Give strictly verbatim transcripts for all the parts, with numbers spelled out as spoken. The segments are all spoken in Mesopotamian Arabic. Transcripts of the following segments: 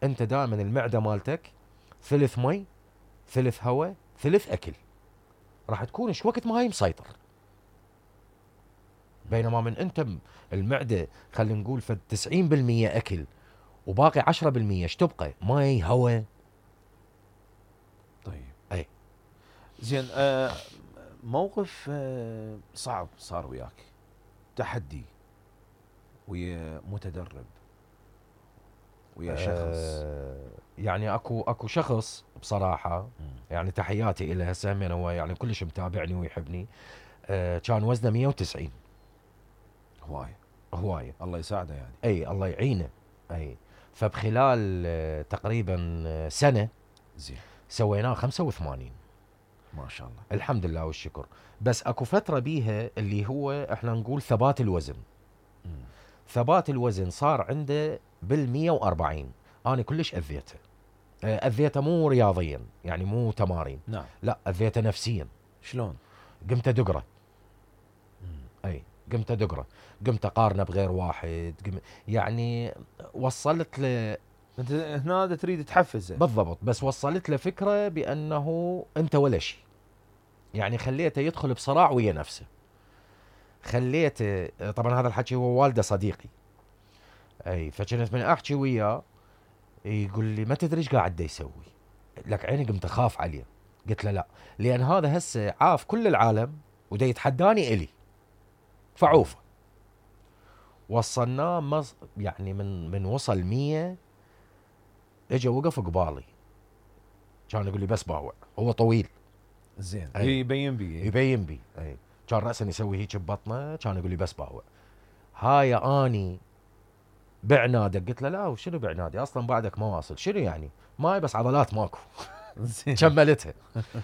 انت دائما المعده مالتك ثلث مي ثلث هواء ثلث اكل، راح تكون ايش وقت ما هي مسيطر. بينما من انت المعده خلينا نقول فد تسعين بالمية اكل وباقي عشرة بالمية ايش تبقى؟ مي هواء. طيب اي زين. آه موقف آه صعب صار وياك، تحدي ويا متدرب ويا شخص. آه يعني اكو اكو شخص بصراحه مم. يعني تحياتي له، هسه همين هو يعني كلش متابعني ويحبني. آه كان وزنه مية وتسعين. هواي هوايه. الله يساعده يعني. اي الله يعينه. اي فبخلال آه تقريبا آه سنه زين سويناه خمسة وثمانين. ما شاء الله. الحمد لله والشكر. بس اكو فتره بيها اللي هو احنا نقول ثبات الوزن. مم. ثبات الوزن صار عنده بالمية وأربعين. انا كلش اذيته. آه، اذيته مو رياضيا يعني مو تمارين، نعم. لا اذيته نفسيا. شلون؟ قمت ادقره. مم. اي قمت ادقره، قمت اقارنه بغير واحد، قم... يعني وصلت له. انت هنا تريد تحفزه. بالضبط، بس وصلت له فكره بانه انت ولا شيء. يعني خليته يدخل بصراع ويا نفسه. خليته، طبعا هذا الحكي هو والده صديقي. اي فكنت من احكي وياه يقول لي ما تدري ايش قاعد دا يسوي. لك عيني قمت اخاف عليه. قلت له لا، لان هذا هسه عاف كل العالم ودا يتحداني الي فعوفه. وصلناه مص... يعني من من وصل مية اجى وقف قبالي. كان يقول لي بس باوع، هو طويل. زين أي. يبين بي. يبين بي. اي كان راسا يسوي هيك ببطنه، كان يقول لي بس باوع. هاي اني بعنادك. قلت له لا، وشنو بعنادي اصلا بعدك ما واصل. شنو يعني؟ ماي بس عضلات ماكو. زين كملتها.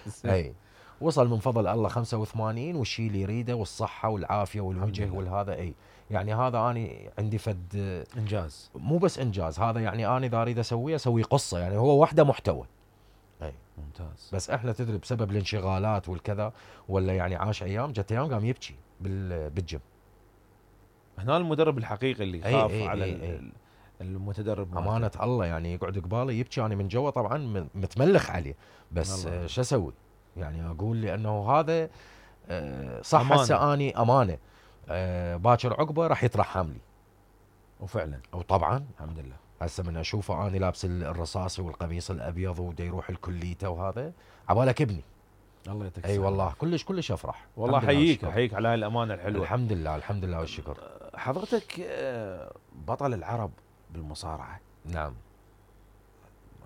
زين. اي وصل من فضل الله خمسة وثمانين، والشيء اللي يريده والصحه والعافيه والوجه والهذا. اي يعني هذا اني عندي فد انجاز. مو بس انجاز، هذا يعني اني اذا اريد اسويه اسوي قصه، يعني هو وحده محتوى. اي ممتاز. بس احنا تدري بسبب الانشغالات والكذا، ولا يعني عاش ايام جت ايام قام يبكي بال بالجيم. هنا المدرب الحقيقي اللي أي يخاف أي على أي ال- أي. ال- المتدرب مالته. امانه الله يعني يقعد قبالي يبكي، انا من جوا طبعا م- متملخ عليه. بس الله. آه، شو اسوي؟ يعني اقول لانه هذا آه، صح. أمانة. هسه اني امانه آه، باكر عقبه راح يترحم لي. وفعلا وطبعا الحمد لله. هسه من اشوفه اني لابس الرصاصي والقميص الابيض ودا يروح الكليته وهذا عبالك ابني. الله يعطيك اي الصحة. والله كلش كلش افرح. والله الحمد لله احييك والشكر. احييك على هاي الامانه الحلوه. الحمد لله الحمد لله والشكر. حضرتك آه، بطل العرب بالمصارعه. نعم.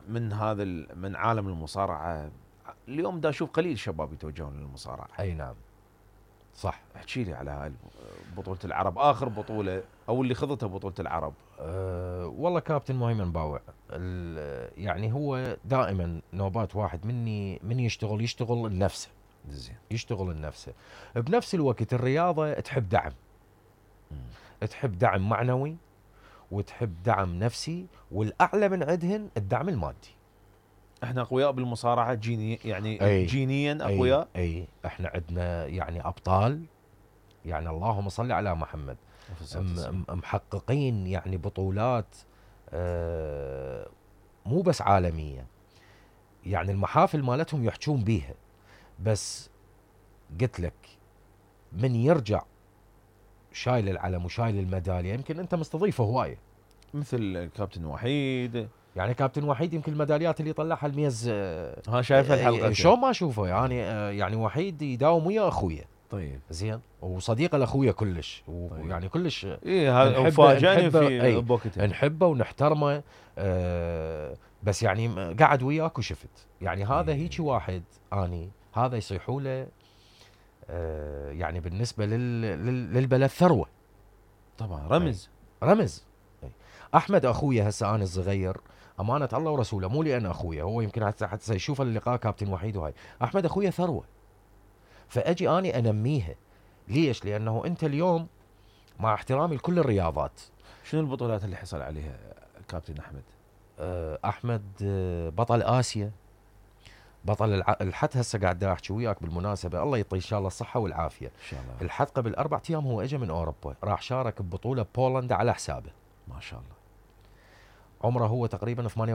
من هذا ال- من عالم المصارعه اليوم دا اشوف قليل شباب يتوجهون للمصارعه. اي نعم صح. احكي لي على هاي بطوله العرب، اخر بطوله او اللي خضتها بطوله العرب. أه والله كابتن مهيمن باوع، ال- يعني هو دائما نوبات واحد مني من يشتغل يشتغل لنفسه. زين. يشتغل لنفسه. بنفس الوقت الرياضه تحب دعم. مم. تحب دعم معنوي وتحب دعم نفسي، والاعلى من عندهن الدعم المادي. احنا اقوياء بالمصارعه جيني يعني أي. جينيا اقوياء. اي, أي احنا عندنا يعني ابطال، يعني اللهم صل على محمد. م- م- محققين يعني بطولات آه مو بس عالميه، يعني المحافل مالتهم يحجون بيها. بس قلت لك من يرجع شايل العلم وشايل الميداليه، يمكن انت مستضيفه هوايه. مثل كابتن وحيد. يعني كابتن وحيد يمكن الميداليات اللي طلعها الميز آه، ها شايفها آه، الحلقه. شلون ما اشوفه يعني آه، يعني وحيد يداوم ويا اخويا. طيب. زين وصديقه لاخويا كلش، طيب. ويعني كلش ايه هذا نحبه- فاجأني نحبه- في أي. بوقتها. نحبه ونحترمه. آه بس يعني م- قعد وياك وشفت يعني هذا إيه. هيك واحد اني هذا يصيحوا له آه يعني بالنسبه لل لل للبلد ثروه. طبعا رمز. رمز. أي. احمد اخويا هسه انا الصغير امانه الله ورسوله، مو لان اخويا، هو يمكن حتى حتى يشوف اللقاء كابتن وحيد وهاي. احمد اخويا ثروه، فاجي اني انميها. ليش؟ لانه انت اليوم مع احترامي لكل الرياضات. شنو البطولات اللي حصل عليها كابتن احمد؟ آه، احمد آه، بطل اسيا، بطل الع... الحد هسه قاعد دا احكي وياك بالمناسبه، الله يعطيه ان شاء الله الصحه والعافيه. ان شاء الله. الحد قبل اربع ايام هو اجى من اوروبا، راح شارك ببطوله بولندا على حسابه. ما شاء الله. عمره هو تقريبا ثمانية